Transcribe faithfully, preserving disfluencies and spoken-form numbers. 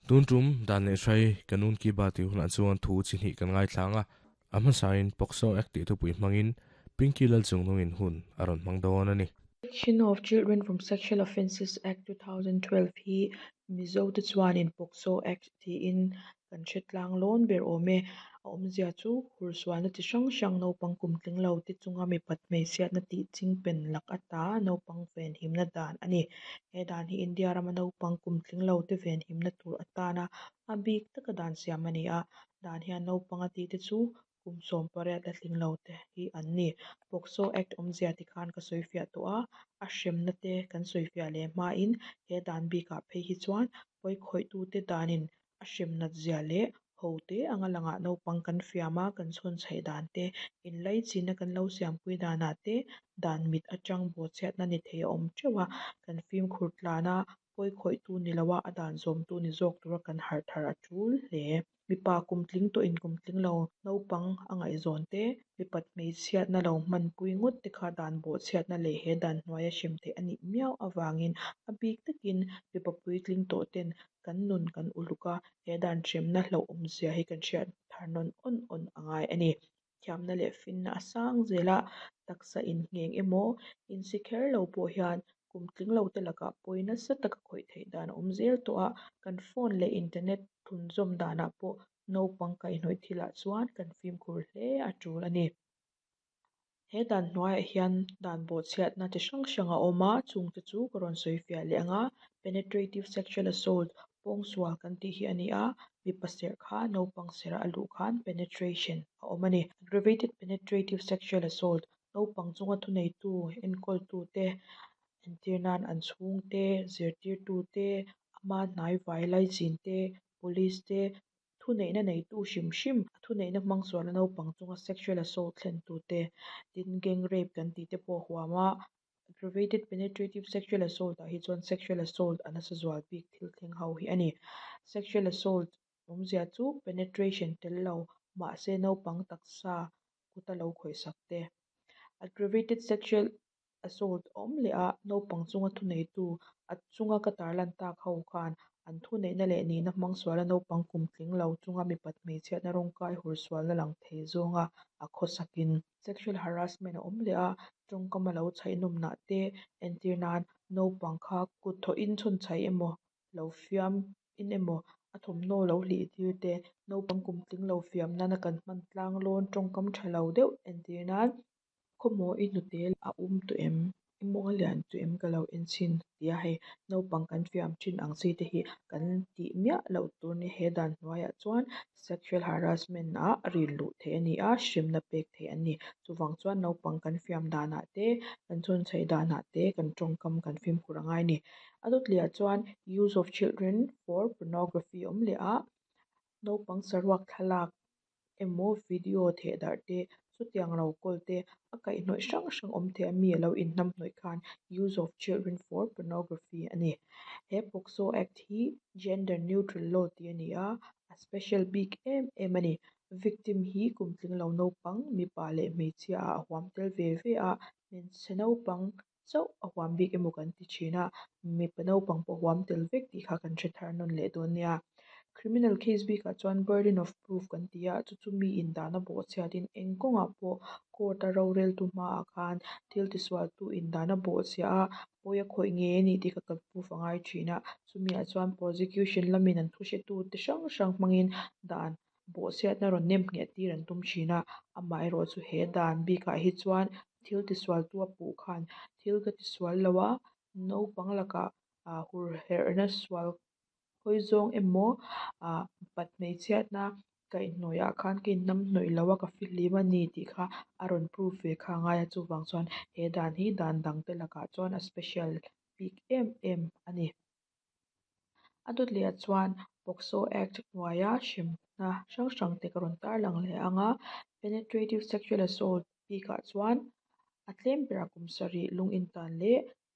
Tun tum dan leh hrai kanun ki ba ti hunah chuan thu chi hnih kan ngaithlang a a hmasain POCSO Act tih thupui hmangin Pinky lal chungnungin hun a rawn hmang dawn a ni. Protection of Children from Sexual Offences Act two thousand twelve hi Mizo te chuanin POCSO Act tiin kan hre tlang lawn ber awm e. A awmzia chu hursualna chi hrang hrang, naupang kum tling lo te chunga mipat hmeichhiatna tih chingpen lak ata naupang venhimna dan a ni. He dan hi India rama naupang kum tling lo te venhimna tur atana a bik taka dan siam a ni a. Dan hian naupang a tih te chu kum sawm pariat la tling lo te hi an ni. POCSO Act awmzia tikhan ka sawi fiah tawh a, a hremna te kan sawi fiah leh hmain he dan bikah phei hi chuan pawi khawih te danin a hrem nat zia leh ho te anga langah naupang kan fiam a, kan chhawn chhaih dan te, inlaichinna kan lo siampui danah te dan mit atang bawhchhiatna ni thei a awm teuh a, kan fimkhur tlan a, pawi khawihtu ni loa a dan zawmtu ni zawk tura kan harh thar a tul hle. Mipa kum tling tawhin kum tling lo naupang a ngaihzawn te, mipat hmeichhiatna lo hmanpui ngawt te kha dan bawhchhiatna leh he dan hnuaia hrem theih a nih miau avangin a bik takin mipa puitling tawh ten kan nun kan uluk a, he dan hremna hlauhawm zia hi kan hriat thar nawn awn awn a ngai a ni. Thiamna leh finna a sang zela, taksa inngheng emaw insi kher lo pawh hian kum tling lo te lakah pawi nasa taka khawih theih dan a awm zel tawh a, kan phone leh internet thlunzawm danah pawh naupang kaihhnawih thilah chuan kan fimkhur hle a tul a ni. He dan hnuaiah hian dan bawhchhiatna chi hrang hrang a awm a, chungte chu ka rawn sawi fiah leh ang a. Penetrative sexual assault, pawngsual kan tih hi a ni a, mipa serh kha naupang serh a luh khan penetration a awm a ni. Aggravated penetrative sexual assault, naupang chunga thuneitu enkawltu te, entir nan an chhungte, zirtirtu te, ama hnaivai laichin te, police te, thuneihna neitu hrim hrim, thuneihna hmang suala naupang chunga sexual assault thlen tu te. Tin, gang rape kan tih te pawh huam a. Aggravated penetrative sexual assault ah hi chuan sexual assault a nasa zual bik thil thleng ho hi a ni. Sexual assault awmzia chu penetration tel lo mahse naupang taksa kuta lo khawihsak te. Aggravated sexual assault awm leh a, naupang chunga thuneitu, a chunga ka tarlan tak ho khan an thuneihna leh nihna hmang suala naupang kum tling lo chunga mipat hmeichhiatna rawngkai hursualna lang thei zawnga a khawsakin. Sexual harassment a awm leh a, tawngkam a lo chhaihnawm te, entir nan naupang kha kut thawhin chhawn chhaih emaw, lo fiam in emaw, a thawmhnaw lo hlih tir te, naupang kum tling lo fiam nana kan hman tlang lawn tawngkam tha lo deuh, entir nan "Khawmaw i hnute a um tawh em? I mawng a lian tawh em? Ka lo en chhin," tia hei naupang kan fiam thin ang chi te hi kan tih miah loh tur ni. He dan hnuaiah chuan sexual harassment ah rin luh theih a ni a, hremna pek theih an ni. Chuvang chuan naupang kan fiam danah te, kan chhawn chhaih danah te kan tawngkam kan fimkhur a ngai a ni. A dawt lehah chuan use of children for pornography awm leh a, naupang saruak thlalak emaw video theh darh te, chutiang lo kawl te, a kaihhnawih hrang hrang awm thei a, mi a lo inhnamhnawih khan use of children for pornography a ni. He POCSO Act hi gender neutral law tih a ni a, a special bik em em a ni. Victim hi kum tling lo naupang mipa leh hmeichhia ah a huam tel ve ve a, hmeichhe naupang chauh a huam bik emaw kan ti thin a, mipa naupang pawh huam tel vek tih kha kan hre thar nawn leh dawn nia. Criminal case bikah chuan burden of proof kan ti a, chu chu mi in dan a bawhchhiatin eng kawngah pawh court a roreltu hmaah khan thil tisualtu in dan a bawhchhia a, pawi a khawih ngei a ni tih kha kan proof a ngai thin a. Chumi ah chuan prosecution lamin an thu hretu te hrang hrang hmangin dan bawhchhiatna rawn nem ngheh tir an tum thin a. Amaherawhchu he dan bikah hi chuan thil tisualtu a puh khan "Thil ka tisual lo a, naupang lakah ah hur herhna sual hawi zawng emaw ah pat hmeichhiatna kaihhnawih ah khan ka inhnamhnawih lo a, ka fihlim a ni," tih kha a rawn proof ve kha a ngai a. Chuvang chuan he dan hi dan dang te lakah chuan a special bik em em a ni. A dawt lehah chuan POCSO Act hnuaia hremna hrang hrang te ka rawn tarlang leh ang a. Penetrative sexual assault bikah chuan a tlem berah kum sarih lung intan leh